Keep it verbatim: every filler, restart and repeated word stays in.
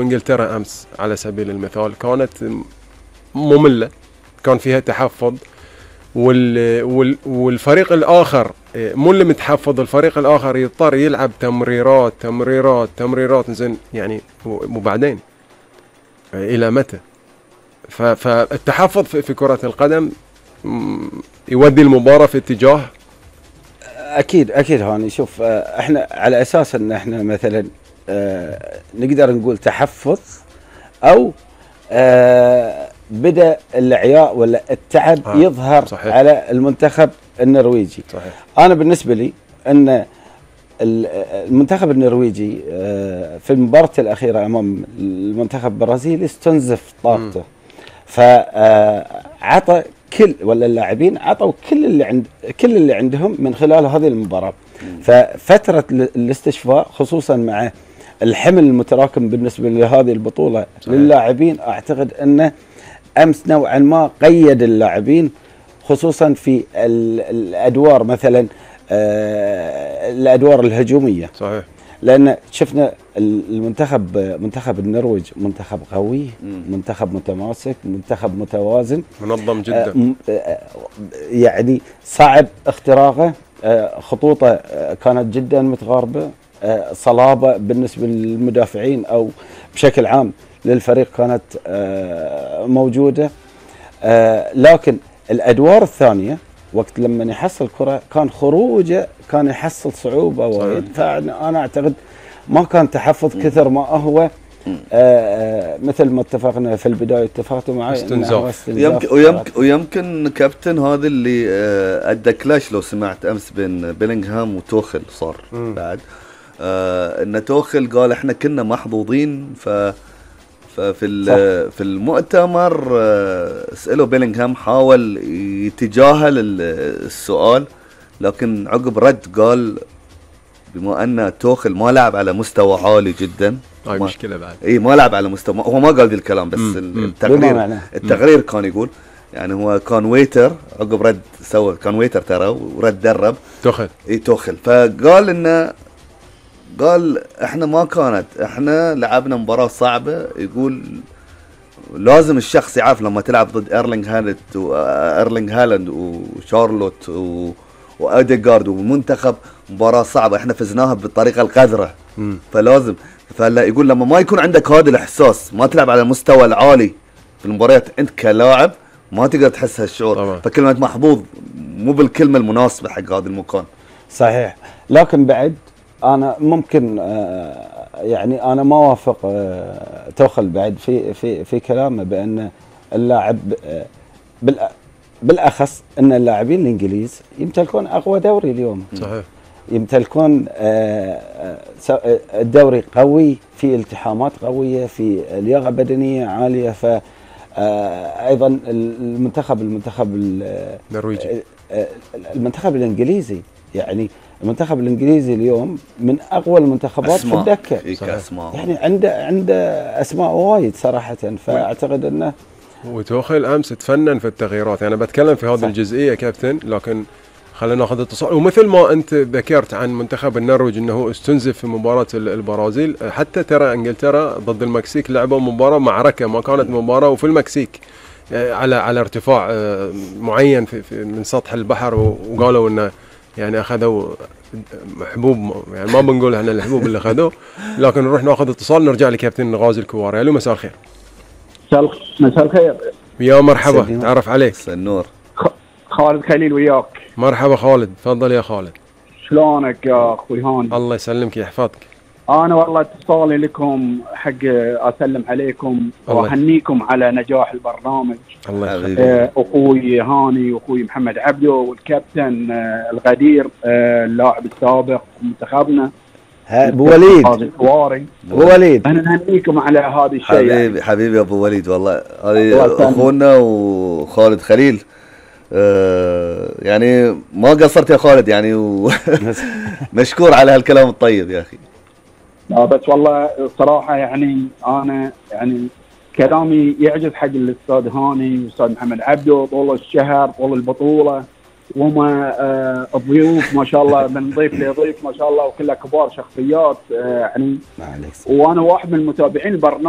انجلترا امس على سبيل المثال كانت مملة، كان فيها تحفظ، وال وال والفريق الاخر مو اللي متحفظ، الفريق الاخر يضطر يلعب تمريرات تمريرات تمريرات زين يعني، وبعدين الى متى؟ فالتحفظ في كرة القدم يودي المباراة في اتجاه. اكيد اكيد هاني شوف، احنا على اساس ان احنا مثلا اه نقدر نقول تحفظ او اه بدا العياء ولا التعب آه يظهر صحيح. على المنتخب النرويجي. صحيح. انا بالنسبه لي ان المنتخب النرويجي اه في المباراه الاخيره امام المنتخب البرازيلي استنزف طاقته، فعطى كل ولا اللاعبين عطوا كل اللي عند كل اللي عندهم من خلال هذه المباراة. ففترة الاستشفاء خصوصا مع الحمل المتراكم بالنسبة لهذه البطولة صحيح. للاعبين اعتقد انه امس نوعا ما قيد اللاعبين خصوصا في الادوار مثلا الادوار الهجومية. صحيح. لان شفنا المنتخب منتخب النرويج منتخب قوي، منتخب متماسك، منتخب متوازن، منظم جدا، يعني صعب اختراقه، خطوطه كانت جدا متقاربه، صلابه بالنسبه للمدافعين او بشكل عام للفريق كانت موجوده. لكن الادوار الثانيه وقت لما يحصل كرة كان خروجه كان يحصل صعوبة وايد، فأنا أعتقد ما كان تحفظ كثر ما هو آآ مثل ما اتفقنا في البداية، اتفقتوا معي استنزاف. ويمكن, ويمكن, ويمكن كابتن هذا اللي أدى كلاش لو سمعت أمس بين بيلينغهام وتوخل صار م. بعد إن توخل قال إحنا كنا محظوظين. ف ففي في المؤتمر سألوا بيلينغهام حاول يتجاهل السؤال، لكن عقب رد قال بما أن توخل ما لعب على مستوى عالي جدا. هاي مشكلة بعد. إيه ما لعب على مستوى، هو ما قال ذي الكلام بس م. التقرير التقرير كان يقول يعني هو كان ويتر، عقب رد سوى كان ويتر ترى ورد درب توخل. إيه توخل، فقال إنه قال احنا ما كانت احنا لعبنا مباراة صعبة. يقول لازم الشخص يعرف لما تلعب ضد ايرلينغ هالاند وايرلينغ هالاند وشارلوت وأوديغارد ومنتخب، مباراة صعبة احنا فزناها بالطريقة القذرة. م. فلازم فلا يقول لما ما يكون عندك هذا الاحساس، ما تلعب على المستوى العالي في المباريات انت كلاعب ما تقدر تحس هالشعور طبعا. فكلمة محظوظ مو بالكلمة المناسبة حق هذا المكان. صحيح. لكن بعد انا ممكن يعني انا ما وافق توخل بعد في في في كلامه بان اللاعب بالاخص ان اللاعبين الانجليز يمتلكون اقوى دوري اليوم. صحيح. يمتلكون الدوري قوي، في التحامات قويه، في لياقه بدنيه عاليه. ف ايضا المنتخب المنتخب النرويجي المنتخب الانجليزي يعني المنتخب الانجليزي اليوم من اقوى المنتخبات في الدكه. يعني عنده عنده اسماء وايد صراحه، فاعتقد انه وتوخل امس تفنن في التغييرات. يعني بتكلم في هذه الجزئيه كابتن، لكن خلينا ناخذ اتصال. ومثل ما انت ذكرت عن منتخب النرويج انه استنزف في مباراه البرازيل، حتى ترى انجلترا ضد المكسيك لعبوا مباراه معركه، ما كانت مباراه، وفي المكسيك على على ارتفاع معين في في من سطح البحر، وقالوا انه يعني اخذوا حبوب، يعني ما بنقول احنا الحبوب اللي اخذوه. لكن نروح ناخذ اتصال، نرجع لكابتن غازي الكواري. الو مساء الخير. مساء الخير يا مرحبا، تعرف عليك. مساء النور. خالد خليل وياك. مرحبا خالد، تفضل يا خالد. شلونك يا اخوي هاني؟ الله يسلمك يحفظك. انا والله اتصالي لكم حق اسلم عليكم واهنيكم على نجاح البرنامج. الله يخليك. آه اخوي هاني واخوي محمد عبده والكابتن آه الغدير آه اللاعب السابق منتخبنا ابو وليد. الكواري ابو وليد، انا نهنيكم على هذا الشيء. حبيبي يعني. حبيبي ابو وليد والله، هذه اخونا وخالد خليل. آه يعني ما قصرت يا خالد يعني مشكور على هالكلام الطيب يا اخي. لا بس والله الصراحه يعني انا يعني كلامي يعجز حق الاستاذ هاني والاستاذ محمد عبده طول الشهر طول البطوله. وما آه الضيوف ما شاء الله، من ضيف لضيف ما شاء الله، وكلها كبار شخصيات آه يعني. وانا واحد من المتابعين البرنامج